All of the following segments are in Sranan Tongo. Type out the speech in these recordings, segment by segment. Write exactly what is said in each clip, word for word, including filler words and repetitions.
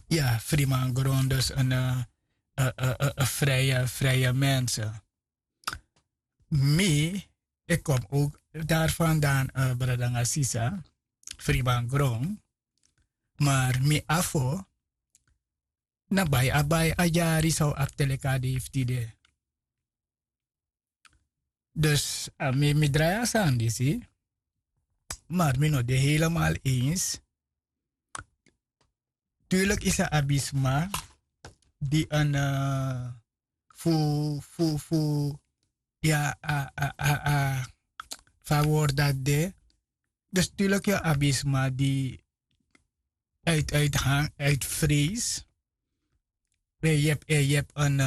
Ya, frimangron dus en vrije vrije mensen. Mi, ik kom ook daar vandaan, bradanga sisa, frimangron. Maar mi afo na bai a bai a dyari san un abi te leki a dei fu tide. Dus a mi mi drai a sani disi. Maar mi no de helemaal eens. Tuurlijk is a abi sma di en fu fu fu ya a a a a fa word dati de. Dus tuurlijk ya abi sma di uit uit han uit vrees. En yu ebi en yu ebi en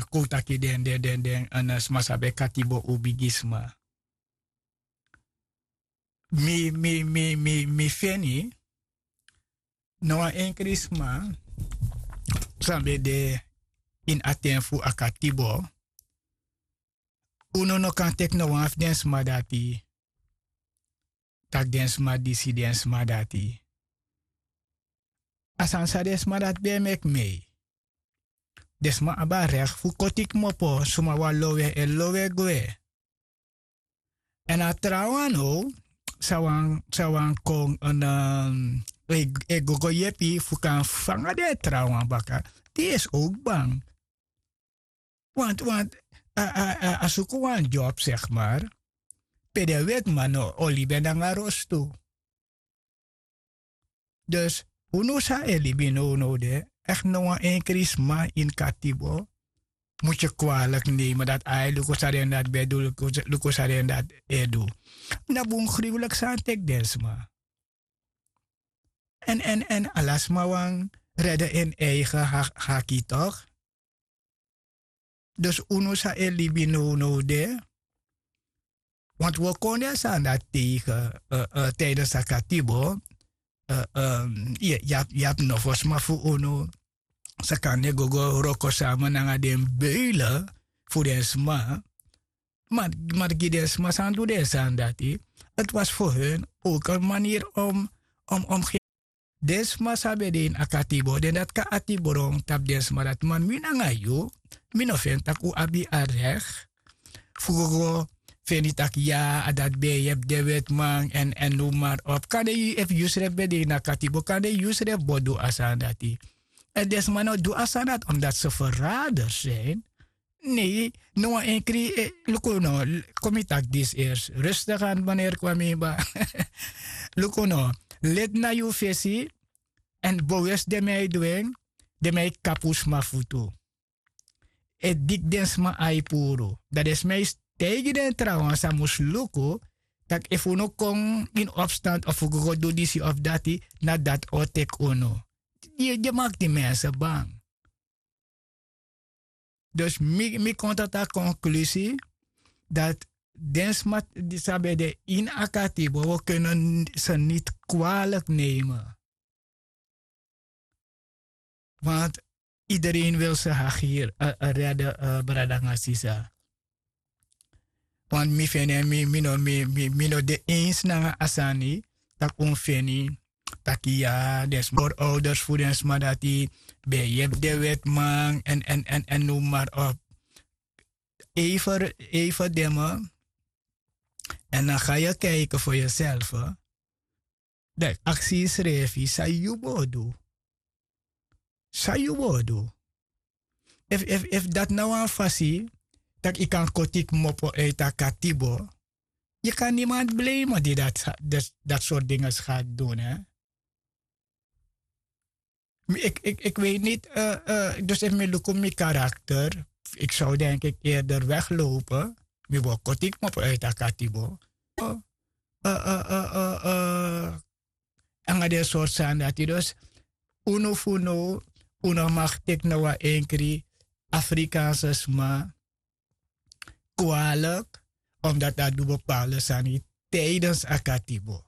kowtaki den den den den en sma san ben katibo un bigi sma. Mi mi mi mi mi feni no wan enkri sma san ben de ini a ten fu a katibo. Unu no kan teki no wan fu den sma dati tak' den sma disi den sma dati. A sani san den sma dati ben e meki mei. Den sma abi a rekti fu koti kmopo suma wan lowe e lowe gwe. Èn a trawan now san wan kon e gogo yepi fu kan fanga den trawan baka. Di esi owk bang. Want want a suku wan dyop segi mar pe den wetiman no o libi en nanga rostu. Dus unu san e libi nownow de, ekti no wan enkri sma ini katibo mus yu kwalik nemen dati ai luku san den dati ben du. Luku san den dati e du. Na bun gruwlik sani teki den sma. Èn èn èn ala sma wani rede en eigen haki tok'. Dus unu san e libi nownow de. Want wi o kon den sani dati tegen tidens a katibo. Yu abi nofo sma fu unu san kan ne gogo wroko sama nanga den beule fu den sma. Mar gi den sma san du den sani dati. Ti wasi fu hun owk en maniri om om om gen den sma san ben de ini a katibo den dati kan ati bron tapu den sma dati man mi nanga yu. Mi no feni tak' un abi a rekti fu go go feni tak' ya a dati ben e yepi den wetiman èn èn nu mari op kande yu efu yusrefi ben de ini a katibo kande yusrefi bo du a sani dati. Èn den sma no du a sani dati omdati se feraders sin. Nei, no wan enkri luku no. Kon mi taki disi ersi rustigi anu maneri kwamimba. Luku no, leti na yu fesi èn bowesi den mi a e du en. Den mi a e kapu sma futu e diki den sma ai puru. Dan den sma e taigi den trawan san mus luku tak' efu unu kon ini opstand of fu go go du disi of dati na dati o teki unu. Yu e maki di mense bang. Dus mi kon tata konklusi dati den sma di san ben de ini a katibo wi o kenen se niti kwalik nemen. Want idereen wil se hagi hiri rede brada nanga sisa. Want mi feni en mi no de eens nanga a sani tak' un feni taki ya den sma forouders fu den sma dati ben e yepi den wetiman èn èn èn noem mari op. Eifer eifer deme. Èn dan ga yu kaiki for yuselfe. Dan yu aksi yusrefi san yu bo du? San yu bo du? Efu efu efu dati na wan fasi tak' yu kan koti kmopo uiti a katibo. Yu kan nimanti blei man di dati dati sortu dinges gati du ne. Mi iki iki iki wei niti. Dus efu mi luku mi karakter iki sow denki iki eerder weglope. Mi bo koti kmopo uiti a katibo. Nanga den sortu sani dati dus unu fu now un no maki teki na wan enkri afrikaanse sma kwalik. Omdati a du bepaalde sani tidens a katibo.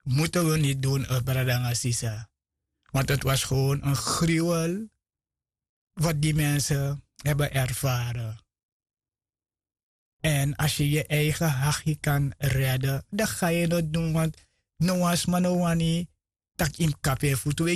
Mute wi niti dun brada nanga sisa. Want ti was gewon en gruwel wat di mense heben ervaren. Èn asi yu yu eigen hagi kan rede dan ga yu no dun want no wan sma no wani tak' yu mus kapu en futu.